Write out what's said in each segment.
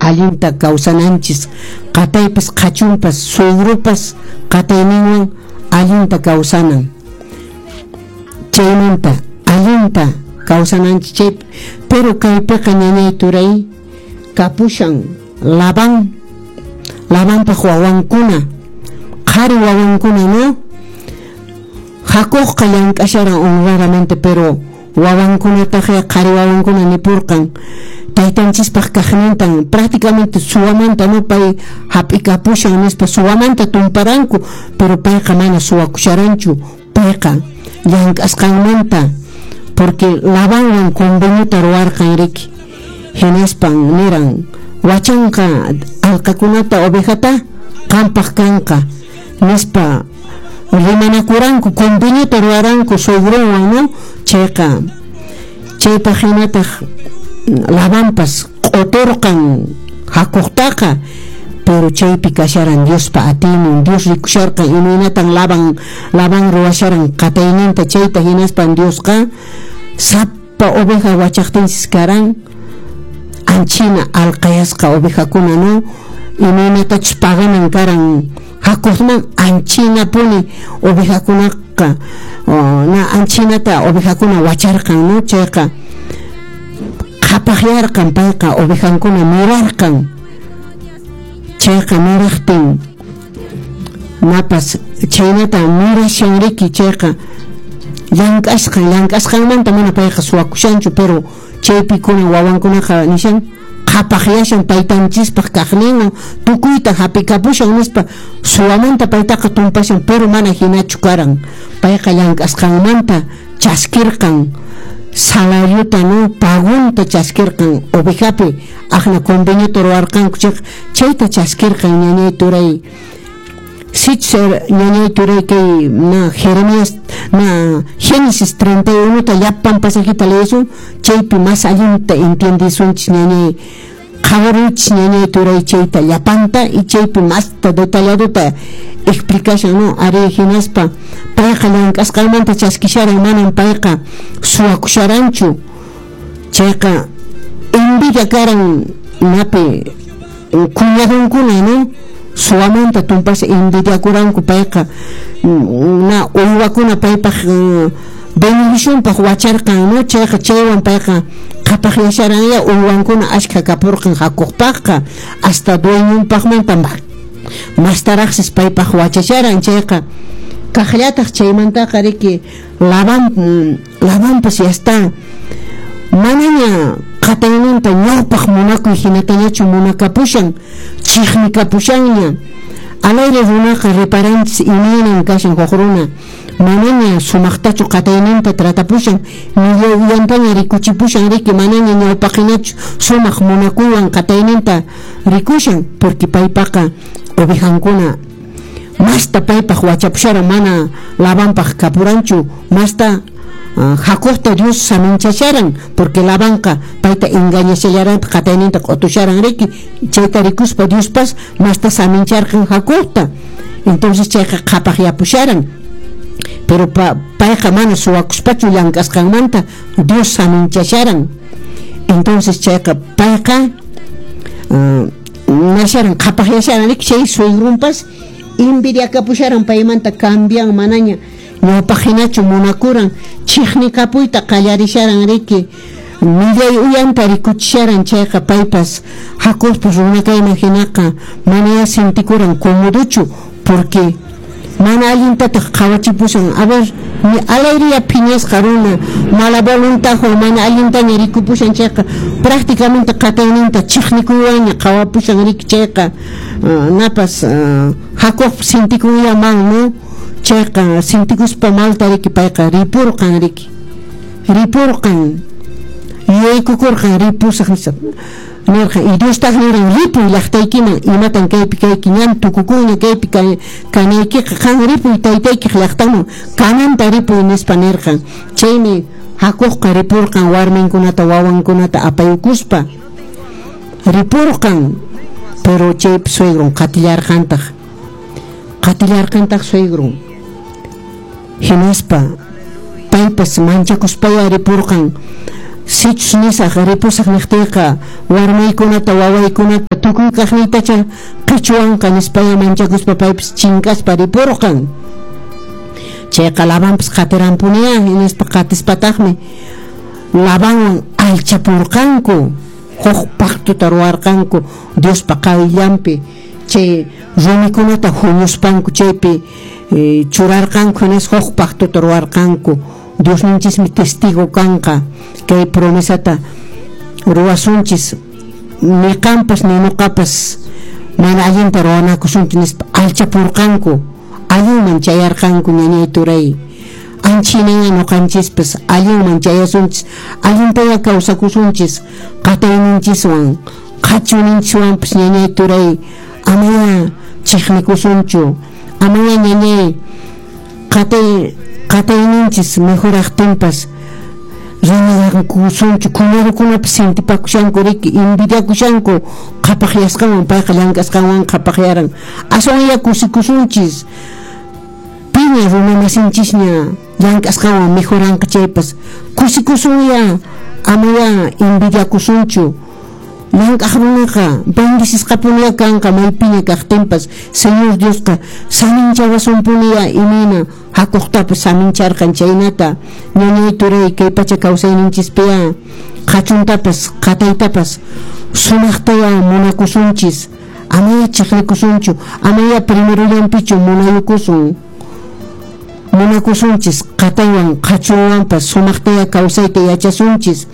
Allinta kawsananchis, qataypas qhachunpas suegrupas qatayninwan allinta kawsanan. Chaymanta allinta kawsananchis chay, pero kaypiqa ñañay turay kapushan Labán, Labanpaq wawankuna, qhari wawankuna, no? Jacobqa llank'asharan honradamente, pero wawankunataqya qhari wawankuna nipurqan taytanchispaq kaqnintan prácticamente suwamanta, no, pay hap'ikapushan nispa suwamanta tumparanku, pero payqa mana suwakusharanchu, payqa llank'asqanmanta, porque Labanwan conveniota ruwarqan riki, hinaspan niran wachanqa alqakunata ovejata qampaq kanqa nispa rimanakuranku, conveniota ruwaranku suegronwan, no? Chayqa chaypaq hinataq Labanpas q'uturqan Jacobtaqa, pero chaypi kasharan Diospa atiynin, Dios rikusharqan imaynatan Labán ruwasharan qatayninta chayta, hinaspan Diosqa sapa oveja wachaqtinsis karan anchina alqayasqa ovejakuna, no? Imaynatachus paganan karan Jacobman anchinapuni ovejakunaqa, na anchinata ovejakuna wacharqan, no? Chayqa qhapaqyarqan payqa, ovejankuna mirarqan. Chayqa miraqtin napas chaynata mirashan riki, chayqa llank'asqanmanta mana payqa suwakushanchu, pero chaypi kunan wawankunaqa nishan qhapaqyashan taytanchispaq kaqninwan tukuyta hap'ikapushan nispa suwamanta paytaqa tumpashan, pero mana hinachu karan, payqa llank'asqanmanta chaskirqan salariota, no, pagunta chaskirqan ovejapi aqna conveniota ruwarqanku chayqa chayta chaskirqan ñañay turay. Sichus ñañay turay kay na Jeremías na Génesis 31 ta llapan pasajita leesun, chaypi más allinta entiendesunchis ñañay, qhawarunchis ñañay turay chayta llapanta y chaypi masta detalladota explicashan, no? Ari, hinaspa payqa llank'asqanmanta chaskisharan, manan payqa suwakusharanchu. Chayqa envidia karan napi cuñadonkuna, no? Suwamanta tumpasha envidiakuranku, payqa na uywakuna paypaq bendicionpaq wacharqan, no? Chayqa chaywan payqa qhapaqyasharanya, uywankuna ashkha kapurqan Jacobpaqqa, hasta dueñonpaqmanta mastaraqsis paypaq wachasharan. Chayqa kaqllataq chaymantaqa riki Labanpas ya está manaña qatayninta ñawpaq munakuy hinatañachu munakapushan, chiqnikapushanña. Alayri runaqa reparanchis imaynan kashan huk runa manaña sumaqtachu qatayninta tratapushan, millay uyantaña rikuchipushan riki, manaña ñawpaqhinachu sumaq munakuywan qatayninta rikushan, porque paypaqa ovejankuna masta paypaq wachapusharan, mana Labanpaq kapuranchu, masta Jacobta Dios saminchasharan, porque Labanqa payta engañashallaranta qatayninta q'utusharan riki, chayta rikuspa Diospas masta samincharqan Jacobta. Entonces chayqa qhapaqyapusharan, pero payqa mana suwakuspachu llank'asqanmanta Dios saminchasharan. Entonces chayqa payqa nasharan qhapaqyasharan riki, chay suegrunpas envidiakapusharan paymanta, cambian manaña ñawpaq hinachu munakuran, chiqnikapuyta qallarisharan riki, millay uyanta rikuchisharan. Chayqa paypas Jacobpas runa kayman hinaqa manaya sintikuran cómodochu, porque mana allintataq qhawachipushan. A ver, alayriya phiñasqa runa mala voluntadwan mana allintaña rikupushan, chayqa prácticamente qatayninta chiqnikuywanña qhawapushan riki. Chayqa napas Jacob sintikuya mal, no? Chayqa sintikuspa malta riki payqa ripurqan riki, ripurqan, yuyaykukurqan ripusaq nispa nirqan, y Diostaq niran ripuy llaqtaykiman, imatan kaypi kayki, ñan tukukunña kaypi kanaykiqa, qan ripuy taytaykiq llaqtanman, Canaanta ripuy nispa nirqan. Chaymi Jacobqa ripurqan warminkunata wawankunata apayukuspa ripurqan, pero chaypi suegron qatillarqantaq suegron, hinaspa paypas manchakuspaya ripurqan. Sichus nisaq ripusaq niqtiyqa warmaykunata wawaykunata tukuy kaqniytacha qichwanqa nispaya manchakuspa paypis chinkaspa ripurqan. Chayqa Labanpas qatiranpuniya hinaspa qatispataqmi Labanwan alchapurqanku, huk pactota ruwarqanku Diospa qayllanpi, chay rumikunata huñuspanku chaypi churarqanku hinaspa huk pactota ruwarqanku. Diosninchismi testigo kanqa kay promesata ruwasunchis, ni qampas ni ñuqapas mana allinta ruwanakusunchis nispa alchapurqanku, allinman chayarqanku ñañay turay. Anchhinaña ñuqanchispas allinman chayasunchis, allintaya kawsakusunchis qatayninchiswan qhachuninchiswanpas ñañay turay, amaya chiqnikusunchu, amaya ñañay qatayninchis mejoraqtinpas rimakusunchu, cuñadokunapas sintipakushanku riki, envidiakushanku qhapaqyasqanwan, payqa llank'asqanwan qhapaqyaran. Aswanya kusikusunchis, piña runamasinchisña llank'asqanwan mejoranqa chaypas kusikusunya, amaya envidiakusunchu. Llank'aq runaqa bendicisqapuniya kanqa maypiña kaqtinpas, Señor Diosqa saminchawasunpuniya imayna Jacobtapas samincharqan chaynata. Ñañay turay kay pacha kawsayninchispiya qhachuntapas qataytapas sumaqtaya munakusunchis, amaya chiqnikusunchu, amaya primerollanpichu munayukusun, munakusunchis qataywan qhachunwanpas sumaqtaya kawsayta yachasunchis.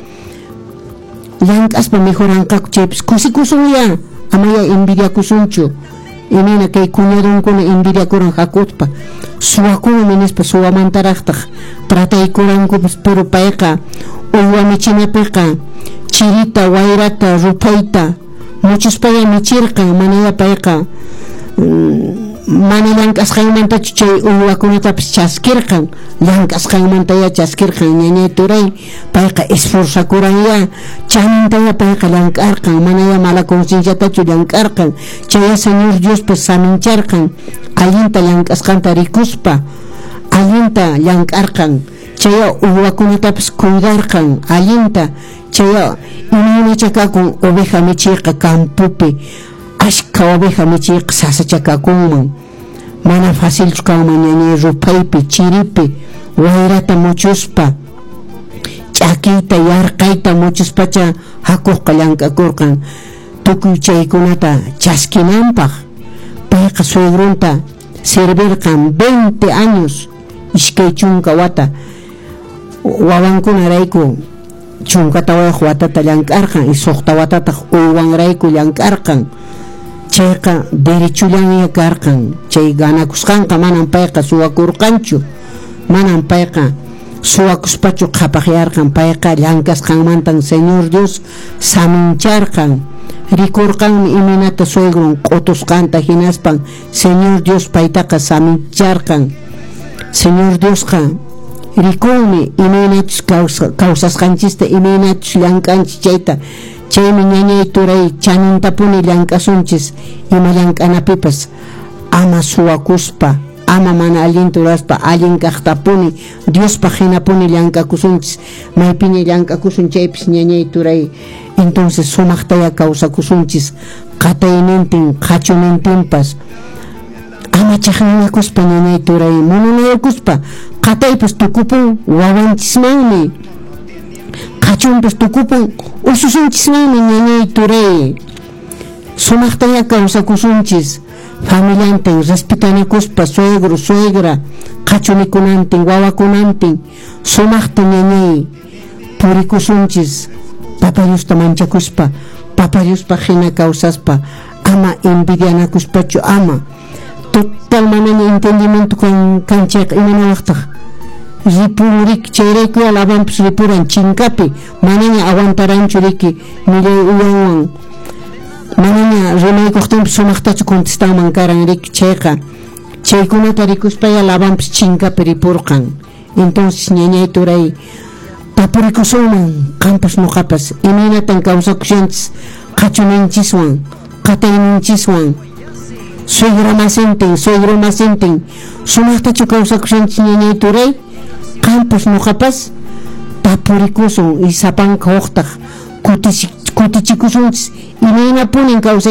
Llank'aspa mejoranqaku chaypas kusikusunya, amaya envidiakusunchu. Imayna kay cuñadonkuna envidiakuran Jacobpa, suwakunmi nispa suwamantaraqtaq trataykurankupas, pero payqa uywa michinapiqa chirita, wayrata, ruphayta muchuspaya michirqan, manaya payqa mana llank'asqanmantachu chay uywakunatapas chaskirqan, llank'asqanmantaya chaskirqan ñañay turay, payqa esforzakuranya, chanintaya payqa llank'arqan, manaya mala concienciatachu llank'arqan, chaya Señor Diospas samincharqan, allinta llank'asqanta rikuspa allinta llank'arqan, chaya uywakunatapas cuidarqan allinta, chaya imaynacha kakun oveja michiyqa campopi, ashka oveja michiyqa sasachakakunman, mana facilchu kanman ñañay ruphaypi, chiripi, wayrata muchuspa, ch'akiyta, yarqayta muchuspacha Jacobqa llank'akurqan tukuy chaykunata chaskinanpaq. Payqa suegrunta servirqan 20 años, iskay chunka wata, wawankunarayku chunka tawayuq watata llank'arqan y suqta watataq uywanrayku llank'arqan. Chayqa derechullanña karqan, chay ganakusqanqa manam payqa suwakurqanchu, manam payqa suwakuspachu qhapaqyarqan, payqa llank'asqanmantan Señor Dios samincharqan, rikurqanmi imaynata suegrun q'utusqanta, hinaspan Señor Dios paytaqa samincharqan. Señor Diosqa rikunmi imaynachus kawsasqanchista, imaynachus llank'anchis chayta. Chaymi ñañay turay chanintapuni llank'asunchis ima llank'anapipas, ama suwakuspa, ama mana allinta ruraspa, allin kaqtapuni Diospaq hinapuni llank'akusunchis, maypiña llank'akusun chaypis ñañay turay, entonces sumaqtaya kawsakusunchis qataynintin qhachunintinpas, ama chiqninakuspa ñañay turay, munanayakuspa, qataypas tukupun wawanchismanmi, qhachunpas tukupun ususunchismanmi ñañay turay. Sumaqtaya kawsakusunchis familiantin, respetanakuspa, suegro, suegra, qhachunikunantin, wawakunantin, sumaqta ñañay purikusunchis, Papa Diosta manchakuspa, Papa Diospaq hina kawsaspa, ama envidianakuspachu, ama total manaña entendimiento kan chayqa imanawaqtaq ripun riki, chayrayku Labanpas ripuran chinkapi, manaña aguantaranchu riki millay uyanwan, manaña rimaykuqtinpas sumaqtachu contestanman karan riki, chayqa chaykunata rikuspaya Labanpas chinkapi ripurqan. Entonces ñañay turay tapurikusunman qampas ñuqapas imaynatan kawsakushanchis qhachuninchiswan, qatayninchiswan, suegra masintin, suegro masintin, sumaqtachu kawsakushanchis ñañay turay, qampas ñuqapas Tapurikusun y sapanka huqtaq kutichikusunchis imaynapunin kawsay.